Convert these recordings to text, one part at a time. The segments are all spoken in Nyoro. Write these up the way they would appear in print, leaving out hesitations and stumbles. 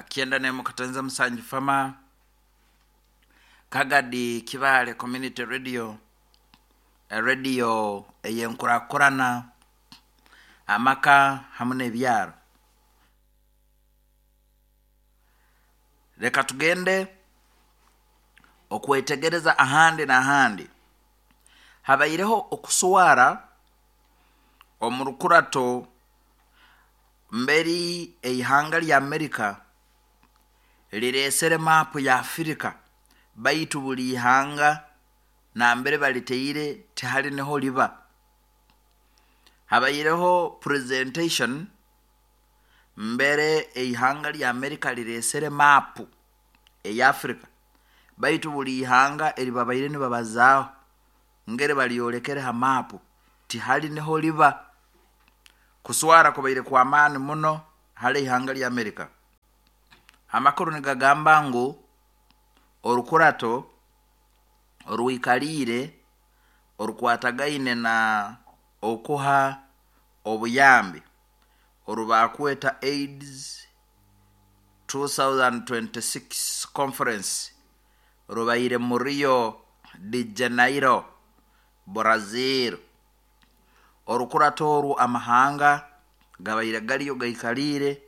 91.7 Fama Kagadi Kibaale Community Radio, radio ey'enkurakurana, amaka hamu n'ebyaro. Leka tugende okwetegereza ahandi n'ahandi. Habaireho okuswara omu rukurato mberi eihanga lya Amerika lireesere maapu ya Afirika baitu buli ihanga nambere balitaire tihali niho liba. Habaireho presentation mbere eihanga lya Amerika lireesere maapu eya Afirika baitu buli ihanga eribabaire nibabazaaho ngeri balyolekere ha maapu tihali niho liba. Kuswara kubaire kw'amaani muno hali ihanga lya Amerika. Amakuru nigagamba ngu orukurato orwikaliire orukwatagaine na okuha obuyambi orubakweta AIDS 2026 Conference rubaire mu Rio de Janeiro, Brazil. Orukurato oru amahanga gabaire gariyo gaikaliire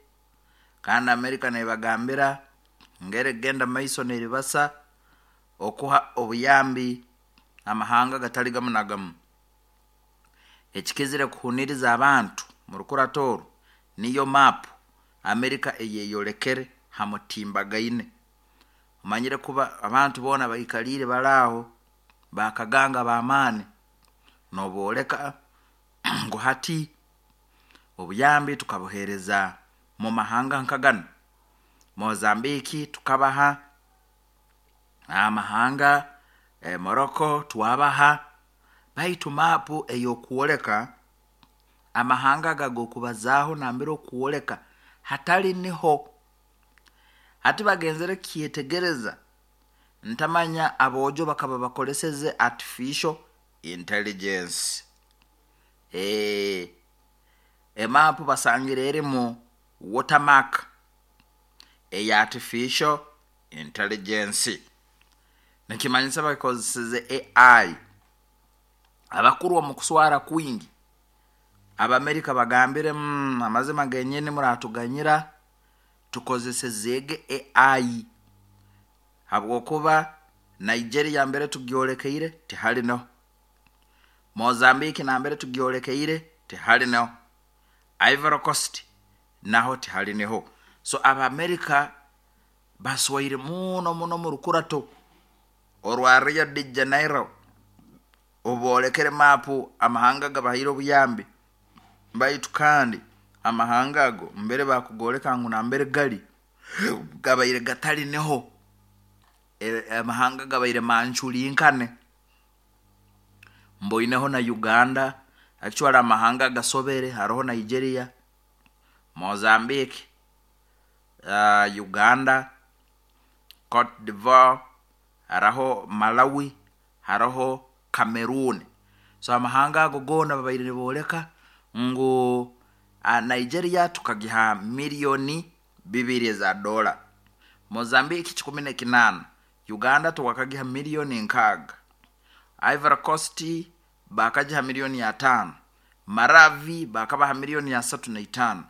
kandi Amerika nebagambira ngeri kugenda mumaiso neribasa okuha obuyambi amahanga gatali gamu na gamu. Ekikizire kuhuniriza abantu mu rukurato oru niyo maapu Amerika eyeyolekere ha mutimbagaine. Omanyire kuba abantu boona baikaliire bali aho bakaganga b'amaani nobooleka ngu hati obuyambi tukabuheereza mu mahanga nka ganu. Mozambique tukabaha, amahanga Morocco twabaha, baitu maapu ey'okwoleka amahanga ago ag'okubazaaho nambere okwoleka hatali niho. Hati bagenzere kukyetegereza ntamanya aboojo bakaba bakoleseze artificial intelligence. Emaapu basangire erimu watermark eya artificial intelligence. Nikimanyisa bakozeseze AI. Abakuru omu kuswara kwingi, Abamerika bagambire amazima genyini muratuganyira tukozesezeege AI habwokuba Nigeria mbere tugyolekeire tihali niho, Mozambique nambere tugyolekeire tihali niho, Ivory Coast naho tihali niho. So Abamerika baswaire muno muno omu rukurato orwa Rio de Janeiro obu boolekere maapu amahanga agabahaire obuyambi baitu kandi amahanga ago mbere bakugooleka ngu nambere gali gabaire gatali niho amahanga gabaire manculinkane. Mboineho na Uganda, actually amahanga agasobere haroho Nigeria, Mozambique, Uganda, Cote d'Ivoire, haroho Malawi, haroho Cameroon. So amahanga ago goona babaire nibooleka ngu Nigeria tukagiha miliyoni 2 eza doola, Mozambique 18, Uganda twakagiha miliyoni 6, Ivory Coast bakagiha miliyoni 5, Maravi bakabaha miliyoni 35,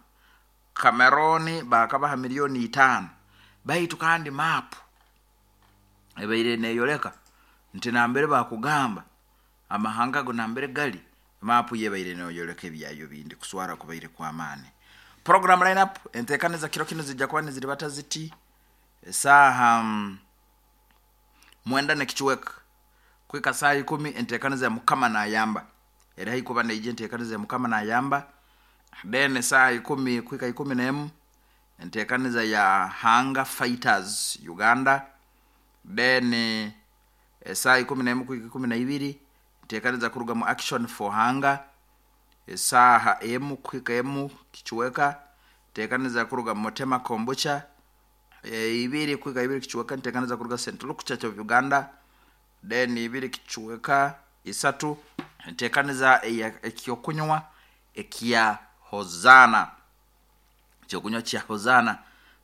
Cameroon bakabaha miliyoni 5. Baitu kandi maapu ebaire neyoleka nti nambere bakugamba amahanga ago nambere gali, maapu yo ebaire neyoleka ebyayo bindi. Kuswara kubaire kw'amaani. Program lineup enteekaniza kiro kinu zijja kuba niziribata ziti esaaha 9 n'ekicweka kuhika saaha 10 enteekaniza ya Mukama Nayamba eri haihi kuba neija enteekaniza ya Mukama Nayamba then esaaha 10 kuhika 11 enteekaniza ya Hunger Fighters Uganda then esaaha 11 kuhika 12 enteekaniza kuruga mu Action for Hunger esaaha 1 kuhika 1 kicweka enteekaniza kuruga mu Mutema Kombucha 2 kuhika 2 kicweka enteekaniza kuruga St Luke Church of Uganda then 2 kicweka 3 enteekaniza ekyokunywa ekya Hosanna. Ekyokunywa kya Hosanna.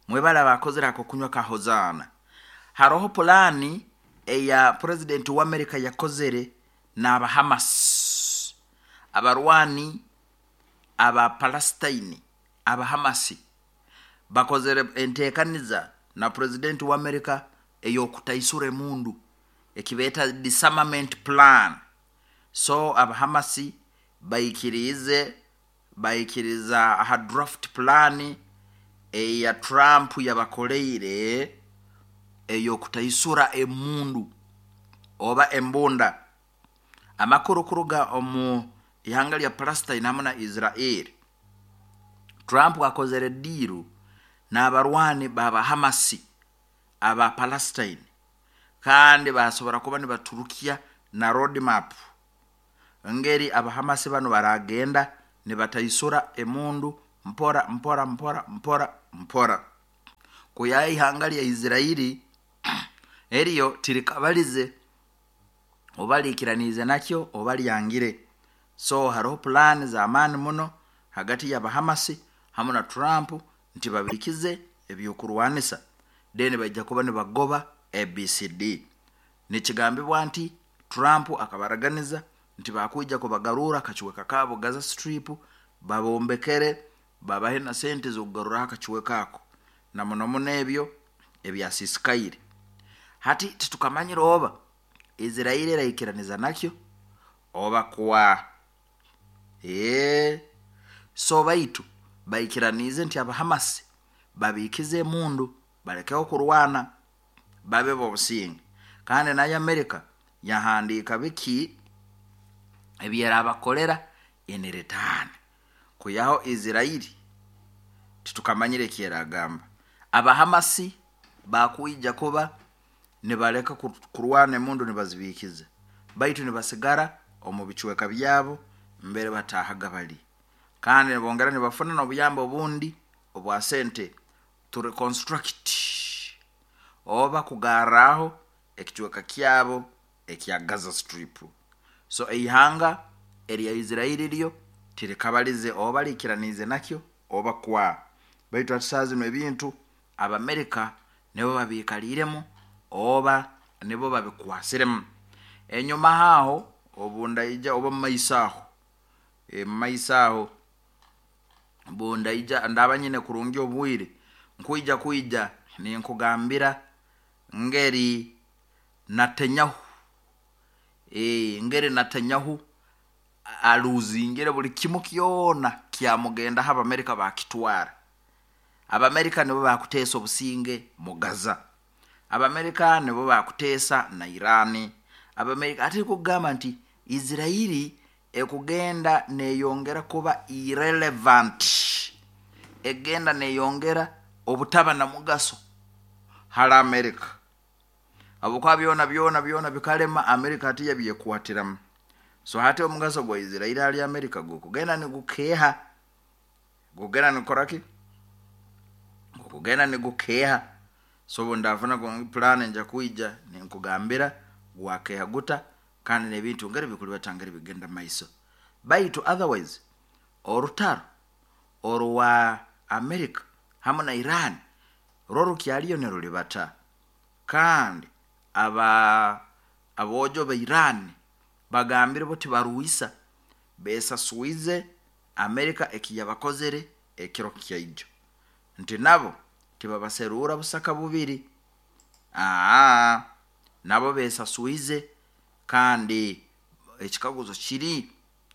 Mwebale abakozere akokunywa ka Hozaana. Haroho pulaani eya purezidenti w'Amerika yakozere n'aba Hamas, abarwani aba Palestine. Aba Hamasi bakozere enteekaniza na purezidenti w'Amerika ey'okutaisura emundu, ekibeeta disarmament plan. So aba Hamasi baikiriize, baikiriza aha draft plan eya Trump yabakoleire ey'okutaisura emundu oba embunda. Amakuru kuruga omu ihanga lya Palestine hamu na Israel, Trump akozere diiru n'abarwani baba Hamasi aba Palestine, kandi basobora kuba nibaturukya na road map ngeri abahamasi banu baragenda nibataisura emundu mpora mpora mpora mpora mpora. Kuya ihanga lya Israeli eryo tirikabalize oba liikiraniize nakyo oba lyangire. So haroho pulaani z'amaani muno hagati y'abahamasi hamu na Trump nti babikize ebyokurwanisa, then baija kuba nibagoba ABCD. Nikigambibwa nti Trump akabaraganiza nti bakwija kubagarurra akacweka kaabo Gaza Strip, babombekere, babahe na sente z'okugaruraho akacweka ako, na muno muno ebyo ebyasisikaire. Hati titukamanyire oba Israeli eraikiraniza nakyo oba kwa. So baitu baikiraniize nti abahamasi babikize emundu, balekeho kurwana, babe b'obusinge. Kandi nayo Amerika yahandiika biki ebyerabakolera in return. Kwihaho Israeli titukamanyire ekyeragamba. Abahamasi bakwija kuba nibaleka kurwana, emundu nibazibikiza, baitu nibasigara omu bicweka byabo mbere batahaga bali, kandi nibongera nibafuna n'obuyambi obundi obwa sente to reconstruct oba kugarraho ekicweka kyabo ekya Gaza Strip. So eihanga erya Israeli ryo tirikabalize oba liikiraniize nakyo oba kwa, baitu hati saaha zinu ebintu Abamerika nibo babiikaliiremu oba nibo babikwasiremu. Enyuma aho obu ndaija oba mumaiso aho, mumaiso aho obu ndaija ndaba nyine kurungi obwire, nkwija kwija ninkugambira ngeri Netanyahu, ngeri Netanyahu aluuzingire buli kimu kyona kyamugendaho, Abamerika bakitwara. Abamerika nibo bakuteesa obusinge mu Gaza, Abamerika nibo bakuteesa na Irani. Abamerika ate kugamba nti Israeli ekugenda neyongera kuba irrelevant, egenda neyongera obutaba na mugaso hali Amerika, habwokuba byona byona byona bikalema, Amerika hati yabyekwatiramu. So hati omugaso gwa Israeli hali Amerika gukugenda nigukeeha, gukugenda nigukoraki, gukugenda nigukeeha. So obu ndafuna pulaani nja kwija ninkugambira gwakeeha guta, kandi n'ebintu ngeri bikulibata, ngeri bigenda maiso. Baitu otherwise orutaro orwa Amerika hamu na Iran rwo rukyaliyo nirulibata, kandi aba aboojo ba Iran bagambire bo tibarwisa, besaswize Amerika ekiyabakozere ekiro kyaijo, nti nabo tibabaseruura busaka bubiri. Aa nabo besaswize, kandi ekikaguzo kiri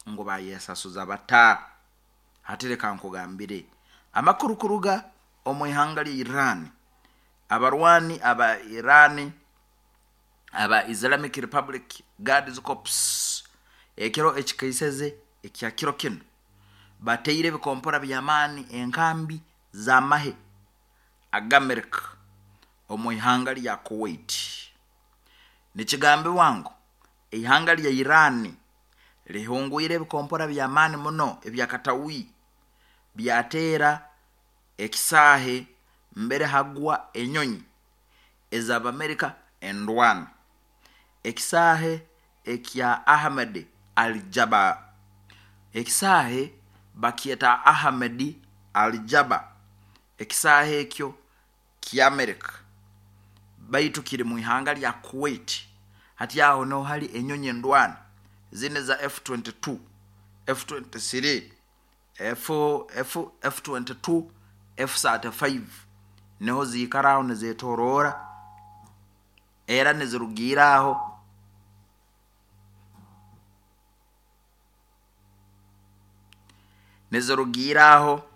ngu bayesasuza bata? Hati leka nkugambire amakuru kuruga omu ihanga lya Iran. Abarwani aba Iran aba Islamic Republic Guards Corps ekiro ekikaiseze ekya kiro kinu bateire ebikompora by'amaani enkambi z'amahe ag'Amerika omu ihanga lya Kuwait. Nikigambibwa ngu ihanga lya Iran lihungwire ebikompora by'amaani muno ebyakatawi, byateera ekisaahe mbere hagwa enyonyi ez'Abamerika endwana, ekisaahe ekya Ahmed Al Jaba. Ekisaahe bakyeta Ahmed Al Jaba, ekisaahe ekyo. ky'Amerika, baitu kiri mu ihanga lya Kuwait. Hati aho niho hali enyonyi endwani zinu eza F22, F23, F, F, F22, F35, niho ziikara aho nizetoroora, era nizirugiira aho nizirugiira aho.